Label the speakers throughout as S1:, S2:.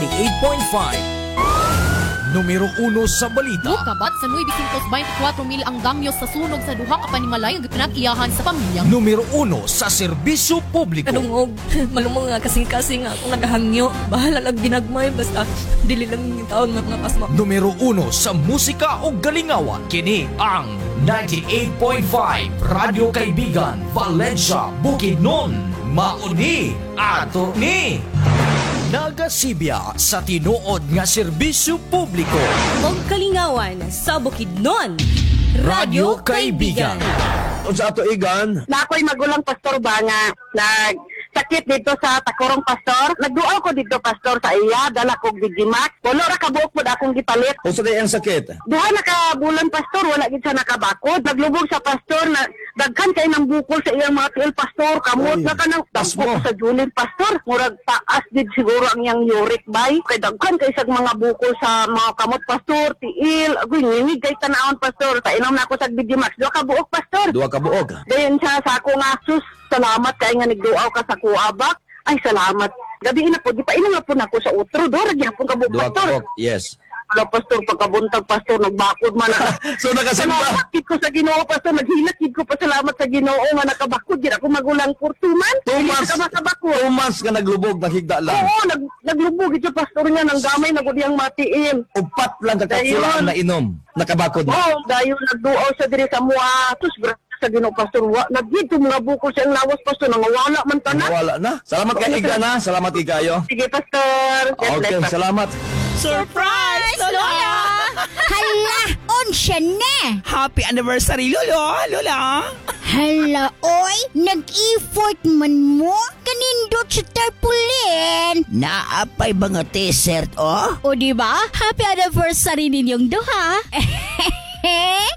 S1: 98.5. Numero 1 sa balita.
S2: Mukabat sa 924 mil ang damyos sa sunog sa duha ka panimalay nga pinag-iyahan sa pamilya.
S1: Numero 1 sa serbisyo publiko.
S3: Kadungog, malumong nga kasing-kasing akong nagahangyo. Bahala lang ginagmay, basta dili lang yung taon nga mga pasma.
S1: Numero 1 sa musika o galingawan. Kini ang 98.5 Radyo Kaibigan, Valencia, Bukidnon. Mauni ato ni. Nagasibya sa tinuod nga serbisyo publiko.
S3: Og kalingawan sa Bukidnon.
S1: Radyo Kaibigan.
S4: Unsa ato, Igan?
S5: Na ako'y magulang, pastor, ba nga nag sakit dito sa Takorong, pastor. Nagduaw ko dito, pastor, sa iya, dala kog Digimax. Wala ra ka buok pod akong gipalit.
S4: Unsa day ang sakit?
S5: 2 na ka bulan, pastor, wala gid siya nakabakod. Naglubog sa, pastor, na daghan kay ng bukol sa iyang mga tiil, pastor, kamot
S4: Oy,
S5: na kanang
S4: tas mo.
S5: sa Julin, pastor. Murag taas gid siguro ang iyang uric bay. Kay daghan kay sag mga bukol sa mga kamot, pastor, tiil. Agoy, ngingig kay tanawon, pastor. Painom na ako sa Digimax. 2 ka buok, pastor.
S4: 2 ka buok.
S5: Dayon siya sa ako nga, sus, salamat kay nga nagduaw ka sa kuabak. Ay, salamat. Gabi na po, di pa inom na po na ako sa utro. Do, gyapon ka buok,
S4: 2 ka
S5: pastor.
S4: buok. Yes.
S5: Wala, pastor, pagkabuntag, pastor, nagbakod man na.
S4: So nakasimba.
S5: Salamat gid ko sa Ginoo, pastor. Naghilak gid ko pasalamat sa Ginoo nga nakabakod gid ako magulang for 2 months.
S4: 2
S5: Dili
S4: months.
S5: ka makabakod.
S4: 2 months ka naglubog, naghigda lang.
S5: Oo, naglubog ito, pastor, niya nang gamay na gud iyang matiin.
S4: 4 lang ka kapsula ang
S5: Dayon.
S4: nainom. Nakabakod na.
S5: Oo, dayon nagduaw sa diri sa mua. Tus, grabe sa Ginoo, pastor. Wa nagdito mga bukol sa iyang lawas, pastor, nangawala man tanan.
S4: Wala na. Salamat kay Igan ha. Salamat kay kayo.
S5: Sige, pastor. God bless,
S4: Okay,
S5: pastor.
S4: salamat.
S6: Surprise, Lola!
S7: Hala, unsya na!
S6: Happy anniversary, Lolo! Lola!
S7: Hala, oy, nag-effort man mo? Kanindot sa tarpaulin.
S6: Naapay mga t-shirt, oh?
S7: O di ba? Happy anniversary ninyong duha.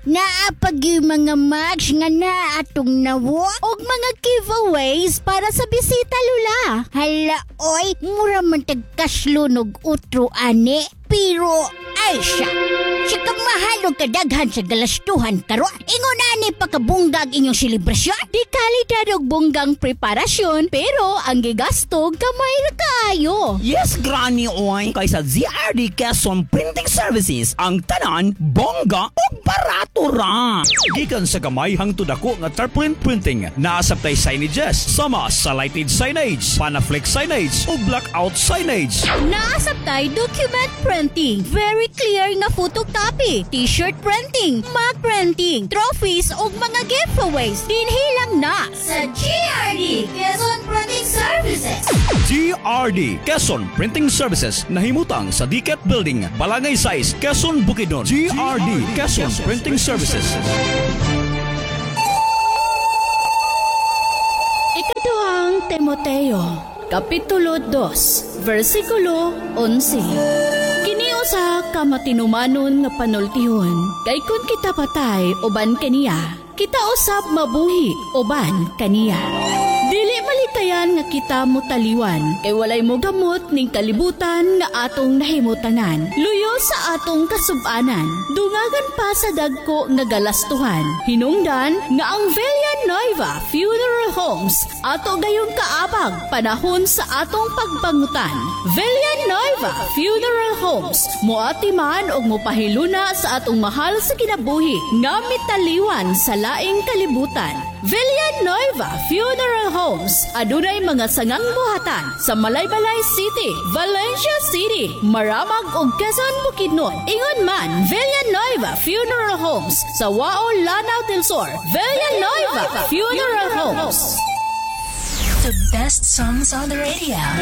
S7: Naapag yung mga mugs nga na atong nawo og mga giveaways para sa bisita, Lula. Hala, oy, mura man tagkaslunog utro ani. Pero, ay siya, siya kamahal og kadaghan sa galastuhan karon. Ingon ani pakabunggag inyong selebrasyon. Di kalidad og bunggang preparasyon, pero ang gigasto gamay ra kaayo.
S6: Yes, Granny oy! Kay sa ZRD Quezon Printing Services, ang tanan, bongga o barato ra!
S8: Gikan sa gamay hangtod dako nga tarpaulin printing, naasabtay signages, sama sa lighted signage, panaflex signage, o blackout signage.
S7: Naasabtay document printing, very clear nga photocopy, t-shirt printing, mug printing, trophies ug mga giveaways. Dinhi lang na sa GRD Quezon Printing Services.
S8: GRD Quezon Printing Services, nahimutang sa Diket Building, Balangay 6, Quezon, Bukidnon. GRD Quezon Printing Services.
S7: Ikaduhang Timoteo, Kapitulo 2, versikulo 11. Kini usa ka matinumanon nga panultihon, kay kun kita patay uban kaniya, kita usab mabuhi uban kaniya. Dili malikayan nga kita mutaliwan, kay walay mo gamot ning kalibutan nga atong nahimutangan. Luyo sa atong kasubanan, dungagan pa sa dagko nga galastuhan. Hinungdan nga ang Villanueva Funeral Homes ato gayong kaabag panahon sa atong pagbangutan. Villanueva Funeral Homes moatiman og mopahiluna sa atong mahal sa kinabuhi nga mitaliwan sa laing kalibutan. Villanueva Funeral Homes adunay mga sangang buhatan sa Malaybalay City, Valencia City, Maramag ug Quezon, Bukidnon. Ingon man Villanueva Funeral Homes sa Wao, Lanao del Sur. Villanueva Funeral Homes.
S9: The best songs on the radio.